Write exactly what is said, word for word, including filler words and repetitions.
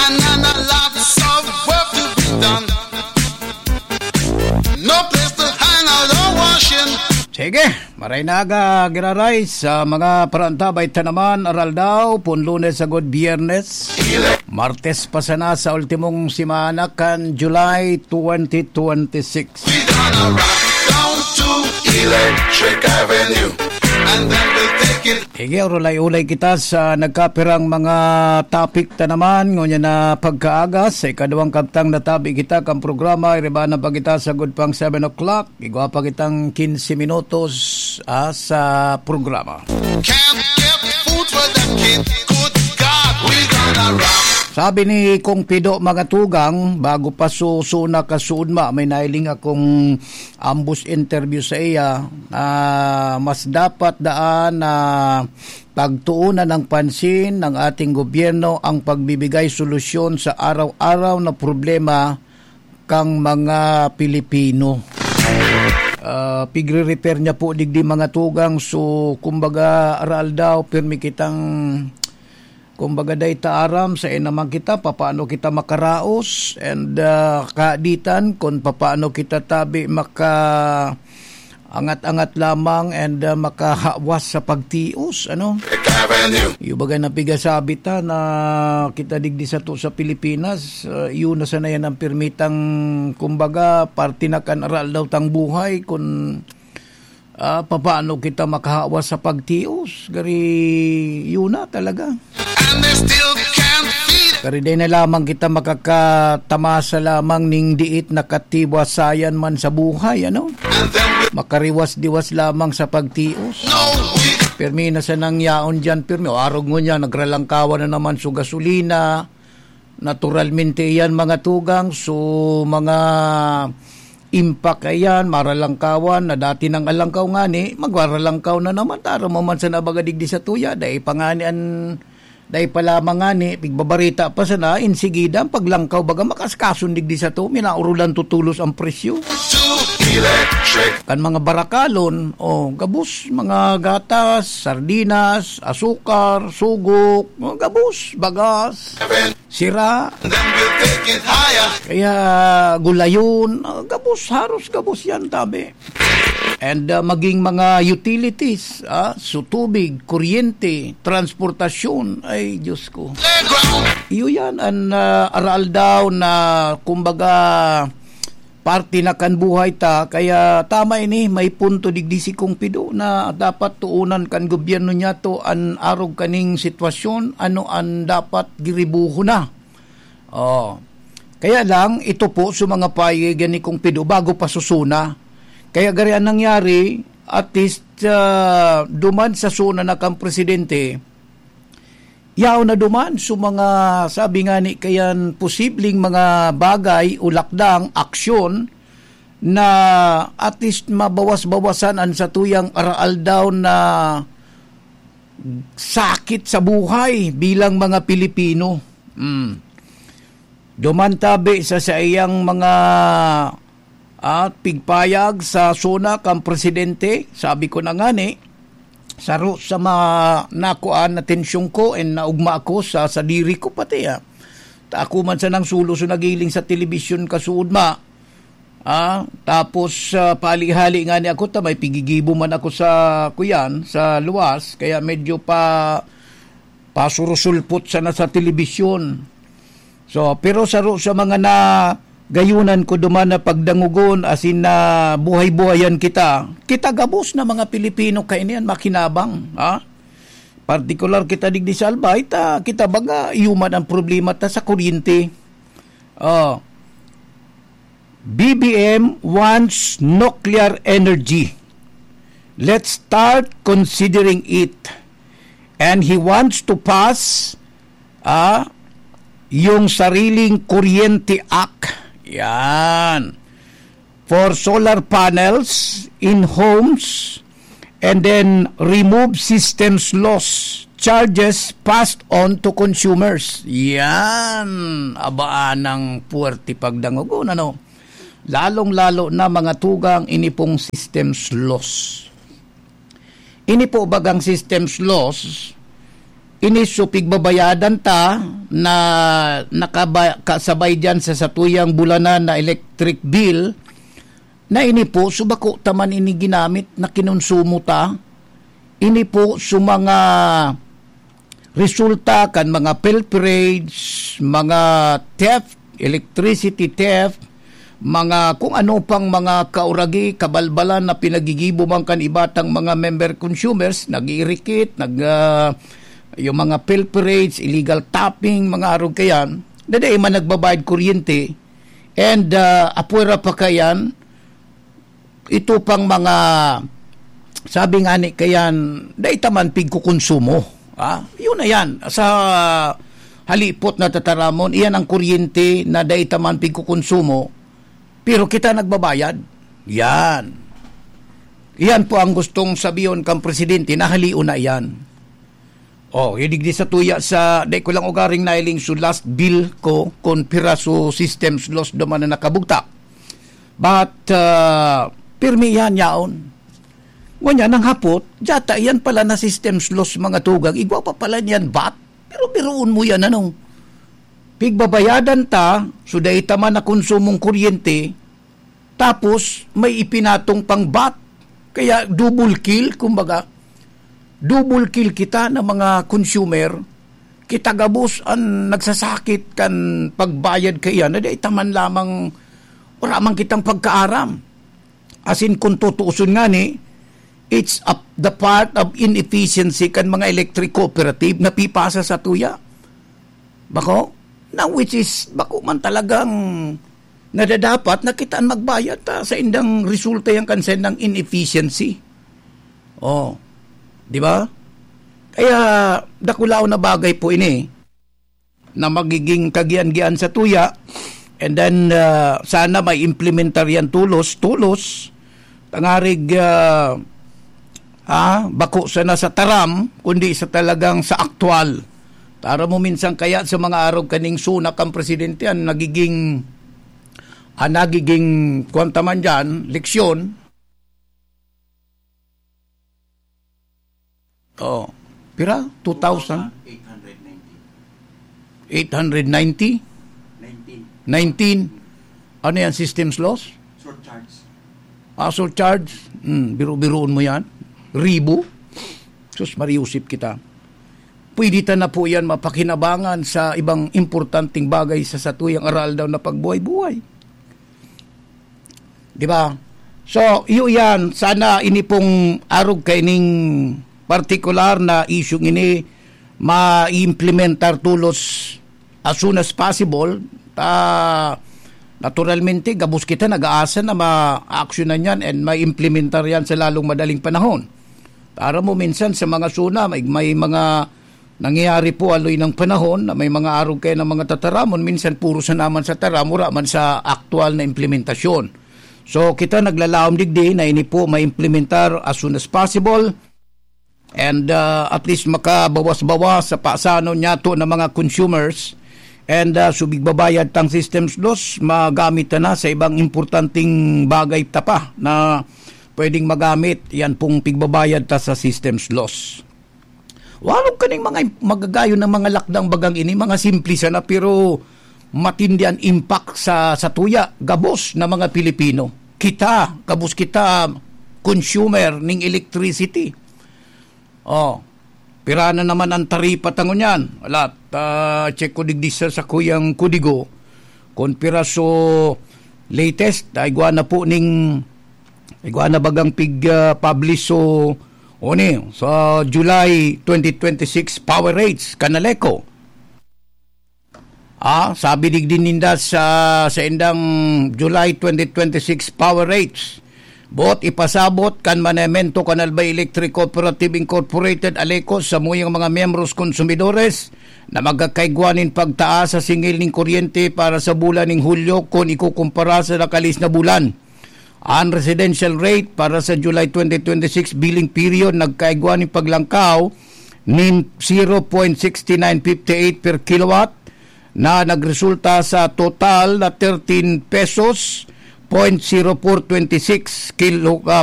And a lots of work to be done. No place to hang out or washing. Sige, maray na aga, giraray sa mga parantabay ta naman, aral daw, pun Lunes agud Biyernes. Martes pa sana sa ultimong semana kan July twenty twenty-six. We gonna rock down to Electric Avenue. And then we'll take it. Sige, urulay-ulay kita sa nagkapirang mga topic ta naman. Ngunyan na pagkaaga, sa ikaduwang kabtang natabi kita kan programa, iriba na pa kita sagud pang seven o'clock. Igwa pa kitang quince minutos, ah, sa programa. Can't get food for the kid. Good God, we gonna rock. Sabi ni Kong Pido, mga tugang, bago pa susuna kasuudma, may nailing akong ambos interview sa iya, ah, mas dapat daan na pagtuunan ng pansin ng ating gobyerno ang pagbibigay solusyon sa araw-araw na problema kang mga Pilipino. Ah, pigre-repair niya po digdi, mga tugang. So, kumbaga, aral daw, pirmi kitang, kumbaga, dai ta aram, sa naman kita, papaano kita makaraos, and, ah, kaditan, kung papaano kita tabi maka angat-angat lamang and, ah, makahawas sa pagtios, ano? Avenue. Yung bagay na pigasabi ta na kita digdi sato sa Pilipinas, ah, yun na sana yan ang pirmitang, kumbaga, parte na kan aral daw tang buhay, kung, ah, papaano kita makahawas sa pagtios. Gari, yun na talaga. And they still can't feed. Kariday na lamang kita makakatamasa lamang ning diit na katiwasayan man sa buhay, ano? And then we Makariwas-diwas lamang sa pagtios. No, we Pirmi na sa nangyaon diyan, pirmi. O, arog ngunyan, nagralangkawan na naman so gasolina. Naturalmente iyan, mga tugang, so mga impact iyan, maralangkawan na dati nang alangkaw ngani, magraralangkaw na naman. Taro mo man sa nabaga digdi sa tuya, dai pa ngani an, dai pa lamang ngani, pigbabarita pa sana, insigida ang paglangkaw, baga makaskason digdi sa to, minaurulan tutulos ang presyo. Too electric. Kan mga barakalon, o, gabos, mga gatas, sardinas, asukar, sugok, o, gabos, bagas, sira. Then we'll take it higher. Kaya gulayon, ah, gabos, haros gabos yan, tabi. And, ah, maging mga utilities, ah, so tubig, kuryente, transportasyon, ay, Diyos ko. Playground. Iyo yan, an, ah, aral daw na, kumbaga, parte na kan buhay ta. Kaya tama ini, may punto digdi si Kong Pido na dapat tuunan kan gobyerno niya to an arog kaning sitwasyon, ano an dapat giribuhon na. Oh. Kaya lang, ito po sa mga payigan ni Kong Pido bago pa susuna. Kaya gari ang nangyari, at least, ah, duman sa suna na kang presidente, yaon na duman sa mga, sabi nga ni kayan, posibleng mga bagay o lakdang aksyon na at least mabawas-bawasan an satuyang aral daw na sakit sa buhay bilang mga Pilipino. Mm. Duman tabi sa saiyang mga, ah, pigpayag sa suna kan presidente, sabi ko na ngani, saro sa mga nakuan, atensyon ko, and naugma ako sa sadiri ko pati, ah. Ta ako man sanang sulo so nagiling sa telebisyon kasuodma. Ah, tapos, ah, pahali-hali ngani ako, ta may pigigibo man ako sa, kuyan, sa luwas, kaya medyo pa, pasurusulpot sana sa telebisyon. So, pero saro sa mga nagayunan ko duman na pagdangogon, asin na buhay-buhayan kita, kita gabos na mga Pilipino kainian makinabang, ha? Partikular kita digdi sa Albay, ta kita baga iyo man ang problema ta sa kuryente. Oh. B B M wants nuclear energy. Let's start considering it. And he wants to pass, ah, yung sariling Kuryente Act. Yan. For solar panels in homes, and then remove systems loss charges passed on to consumers. Yan. Abaan ang puwerte pagdangogon, ano? Lalong-lalo na mga tugang ini pong systems loss. Ini po bagang systems loss, Ini so pigbabayadan ta na nakaba-, kasabay diyan sa satuyang bulanan na electric bill, na ini po, so bako ta man ini ginamit na kinonsumo ta. Ini po, so mga resulta kan mga pilferage, mga theft, electricity theft, mga kung ano pang mga kauragi, kabalbalan na pinagigibo man kan iba tang mga member consumers, nag-iirikit, nag, ah, yung mga pilferage, illegal tapping, mga arog kayan, na dai man nagbabayad kuryente, and, ah, apwera pa kayan, ito pang mga, sabi nga ni kayan, dai ta man pigkukonsumo. Ah, yun na yan. Sa halipot na tataramon, iyan ang kuryente na dai ta man pigkukonsumo, pero kita nagbabayad. Yan. Iyan po ang gustong sabihon kang presidente na halion na iyan. Oh, yung digdi sa tuya sa, dai ko lang ugaring nailing so last bill ko, kun piraso systems loss duman na nakabugtak. But, ah, pirmi yan yaon. Ngunyan, ang hapot, diyata yan pala na systems loss mga tugang, igwa pa pala niyan bat? Pero biruon mo yan, ano? Pigbabayadan ta, so dai ta man na konsumong kuryente, tapos may ipinatong pang bat. Kaya double kill, kumbaga, double kill kita na mga consumer. Kita gabos an nagsasakit kan pagbayad kaiyan, na dai ta man lamang, wala man kitang pagkaaram. As in, kung tutuuson ngani, it's a, the part of inefficiency kan mga electric cooperative na pipasa sa tuya. Bako? Na which is, bako man talagang nadadapat na kita an magbayad ta sa indang resulta yan kan sa indang inefficiency. Oh, di ba? Kaya, dakulaon na bagay po ini na magiging kagian-gian sa tuya. And then, ah, sana may implementar yan tulos, tulos. Tangarig, ah, ah, bako sana sa taram, kundi sa talagang sa aktual. Tara mo minsan kaya sa mga arog kaning sunak ang presidente, ang nagiging, ang nagiging, kuwan ta man dyan, leksyon. Oh, pira? Two thousand? Eight hundred ninety. Eight hundred ninety? Nineteen. Nineteen. Ano yan? Systems loss? Surcharge. Ah, surcharge? Hmm, biru-biruon mo yan. Ribo? Sus, mariusip kita. Pwede ta na po yan mapakinabangan sa ibang importanteng bagay sa satuyang aral daw na pagbuhay-buhay. Di ba? So, iyo yan. Sana ini pong arog kaining partikular na isyung ini ma-implementar tulos as soon as possible. Ta, naturalmente, gabos kita nag-aasa na ma-actionan yan and ma-implementar yan sa lalong madaling panahon. Para mo minsan sa mga suna, may, may mga nangyayari po aloy ng panahon na may mga arog kayo ng mga tataramon, minsan puro sa naman sa taram, wala man sa aktual na implementasyon. So, kita naglalaom digdi na ini po maimplementar as soon as possible and, ah, at least makabawas-bawas sa pasanon niyato ng mga consumers and, ah, subig babayad tang systems loss, magamit na, na sa ibang importanteng bagay ta pa na pwedeng magamit yan pong pigbabayad ta sa systems loss. Walog kaning mga im-, magagayon ng mga lakdang bagang ini, mga simple sana, pero matindi an impact sa, sa tuya, gabos na mga Pilipino. Kita, gabos kita, consumer ning electricity. Oh, pira na naman ang taripa ta ngunyan. Wala, ta, check ko digdi sa, sa kuyang kudigo. Kung pira so latest, ay igwa na po ning, igwa na bagang pig, ah, publish so, o ni, sa July twenty twenty-six power rates, Canaleco. Ah, sabi digdi ninda sa, sa indang July twenty twenty-six power rates, boot ipasabot kan Manamento kan Albay Electric Cooperative Incorporated, Aleco, sa muyang mga miyembros konsumidores na magkakaigwa nin pagtaas sa singil nin kuryente para sa bulan ning Hulyo kun ikukumpara sa nakalis na bulan. An residential rate para sa July twenty twenty-six billing period nagkaigwa nin paglangkaw nin zero point six nine five eight per kilowatt, na nagresulta sa total na thirteen pesos point zero four twenty six kilo, ah,